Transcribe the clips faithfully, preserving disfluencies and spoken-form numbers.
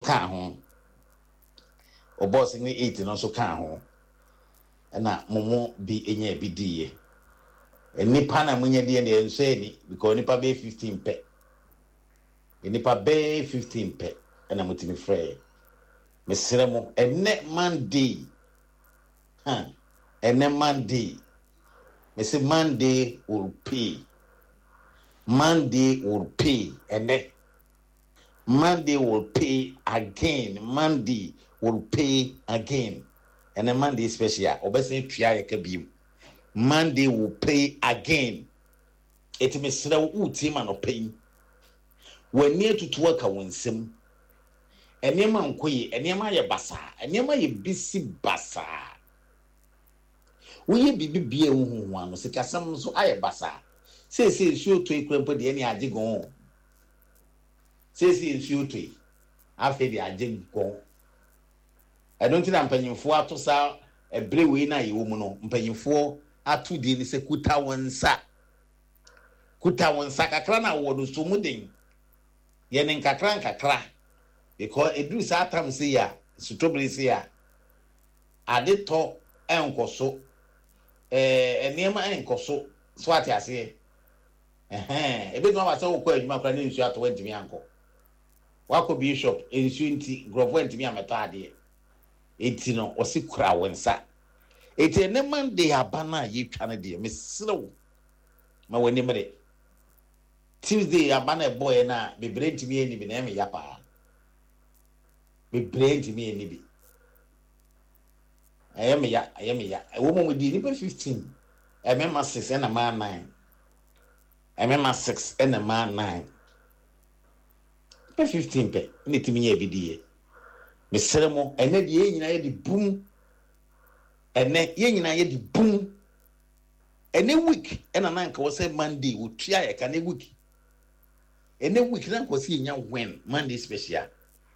kaa ho. Ɔbɔɔ single eight no nso kaa ho. Ɛna mo mu bi nya bi diiɛ. Nnipa na monya diɛ deɛ nsɔ ani because nipa bɛyɛ fifteen pɛ. Nnipa bɛyɛ fifteen pɛ ɛna motumi frɛɛ. Mesrɛ mo, ɛnɛ Monday, huh, ɛnɛ Monday, mese Monday will pay. Monday will pay. Ɛnɛ Monday will pay again. Monday will pay again. Ɛnɛ Monday special, ɔbɛsɛn tua yɛ ka biem. Monday will pay again. Eti mesrɛ wo, wotie ma no pɛ yi. W'ani atutu aka wo nsam. Nneɛma nkɔ yie, nneɛma yɛ basaa, nneɛma yɛ bisi basaa. Woyɛ biribi bia ehuhu ano, sikasɛm nso ayɛ basaa. Seesei nsuo tɔ yi kura mpo deɛ, ɛne agye gɔn. Seesei nsuo tɔ yi, afei de agye gɔn. Ɛno nti na mpanyinfoɔ ato saa ɛbere wei na yɛwɔ mu no, mpanyinfoɔ ato din sɛ kuta wɔn nsa. Kuta wɔn nsa kakra na wɔ no so mu den. Yɛ ne nkakra nkakra because eduru saa tam se a sutobere se a ade tɔ ɛnkɔ so, ɛɛ nneɛma ɛnkɔ so so ate aseɛ. Ɛhɛn, ebi tuma ba sɛ wokɔ adwuma koraa ne nsuo atɔ, wɔntumi ankɔ. Wakɔ bie shop, nsuo nti nkurɔfoɔ ntumi amɛtɔ adeɛ. Eti no wɔsi kura wɔn nsa. Eti ɛnɛ Monday aba no a yɛtwa no deɛ, mesrɛ ma w'ani mmere. Tuesday aba no ɛbɔɔyɛ no a, bebree ntumi ani bi na ɛmɛ ya paa. Bebree ntumi ani bi, ɛyɛ me ya, ɛyɛ me ya. Ɛwɔ mu di nipa fifteen, ɛmɛma six ɛna maa nine, ɛmɛma six ɛna maa nine. Nipa fifteen pɛ ɛna etumi nyɛ ebi di yɛ. Mesrɛ mo, ɛnɛ deɛ yɛn nyinaa yɛ de bum. Ɛnɛ yɛn nyinaa yɛ de bum. Ɛnɛ week ɛna na nka wɔ sɛ Monday otua yɛ ka. Ne week, ɛnɛ week na nka wɔ sɛ yɛnya win Monday special.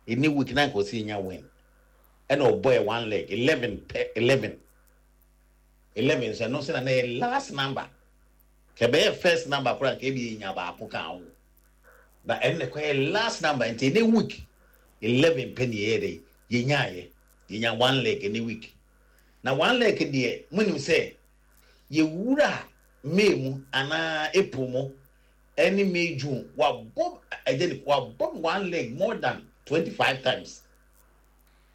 Ɛnɛ week na nka wɔ sɛ yɛnya win, ɛna ɔbɔ yɛ one leg, eleven pɛ, eleven, eleven. Nso ɛno nso na na yɛ last number. Kɛbɛyɛ first number koraa, nka ebi yɛnya baako ka ho, but ɛno na ɛkɔyɛ last number. Nti ɛnɛ week eleven pɛ ne yɛyɛ dɛ yɛnyaayɛ, yɛnya one leg ɛnɛ week. Na one leg deɛ, munim sɛ yɛwura May mu anaa April mu ɛne May, June, wabɔ ɛgye ne wabɔ one leg more than twenty five times.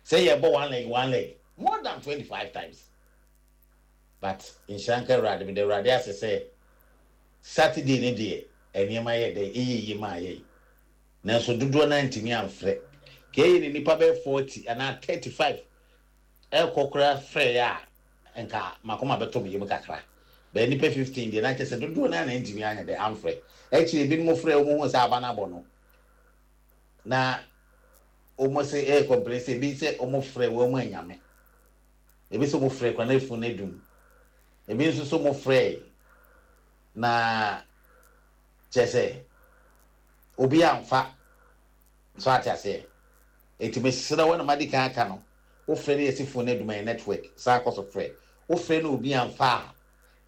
Sɛ yɛbɔ one leg, one leg more than twenty five times. But nhyira nka Awurade, mede Awurade ase sɛ Saturday ne deɛ nneɛma yɛ dɛ ɛyɛ yie maa yɛ. Nanso dodoɔ naa ntumi amfrɛ. Ka ɛyɛ ne nipa bɛyɛ forty anaa thirty five ɛkɔ koraa frɛ yɛ a, nka makoma bɛtɔ me yam kakra. Bɛyɛ nipa fifteen deɛ, na kyerɛ sɛ dodoɔ naa na ntumi anyɛ dɛ amfrɛ. Akyire ebinom frɛ, wɔn ho sɛ aba no abɔ no na wɔn sɛ ɛyɛ complain sɛ ebi sɛ wɔn frɛ wɔn mu anyame, ebi sɛ wɔn frɛ kwan efu no edum, ebi nso so wɔn frɛ na kyerɛ sɛ obi amfa so ate aseɛ. Eti mesrɛ wɔn na ma di kan aka no, wofrɛ no yɛsi phone no edum, yɛ network. Saa akɔ so frɛ, wofrɛ no obi amfa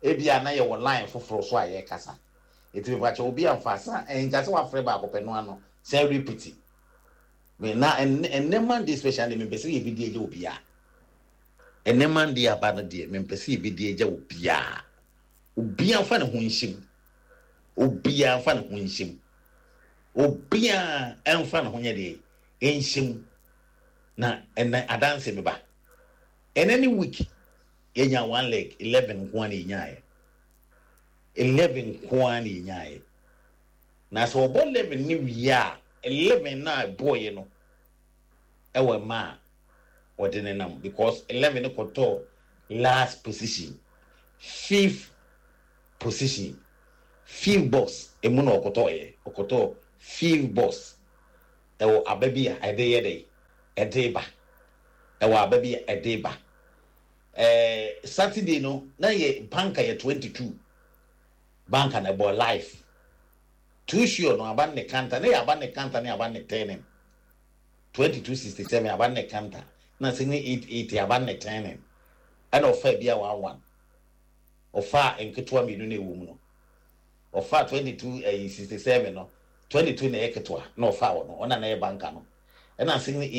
a, ebi a na yɛ wɔ line foforɔ so a yɛrekasa. Eti mepakyɛ, obi amfa sa nka sɛ wafrɛ baako pɛ no ano sɛ repeat me. Na ɛnɛ ɛnɛ Monday special de, mepɛ sɛ yɛbi di agya obiara. Ɛnɛ Monday aba no deɛ, mepɛ sɛ yɛbi di agya obiara. Obiara nfa ne ho nhyɛm, obiara nfa ne ho nhyɛm, obiara nfa ne ho nyɛ deɛ nhyɛm. Na ɛnɛ adanse mi ba, ɛnɛ ne week yɛnya one leg, eleven nko ara na yɛnyaayɛ, eleven nko ara na yɛnyaayɛ. Na sɛ ɔbɔ eleven ne wie a, eleven na ɛbɔɔyɛ no ɛwɔ mmaa a wɔde ne nam because eleven no kɔtɔɔ last position, fifth position, fifth box emu na ɔkɔtɔɔyɛ. Ɔkɔtɔɔ fifth box. Ɛwɔ aba bi a ɛde yɛ dɛ ɛde ba, ɛwɔ aba bi a ɛde ba. ɛɛ saturday no na yɛ banker yɛ twenty two, banker na ɛbɔ live too sure no. Aba ne kanta ne yɛ aba ne kanta ne aba ne turning twenty two sixty seven, aba ne kanta na sɛ ne eight eight, aba ne turning. Ɛna ɔfa bi a one one, ɔfa nketewa mmienu na ɛwɔ mu no, ɔfa twenty two ɛyi sixty seven no, twenty two na ɛyɛ ketewa na ɔfa wɔ no, ɔna na ɛyɛ banker no. Ɛna sɛ ne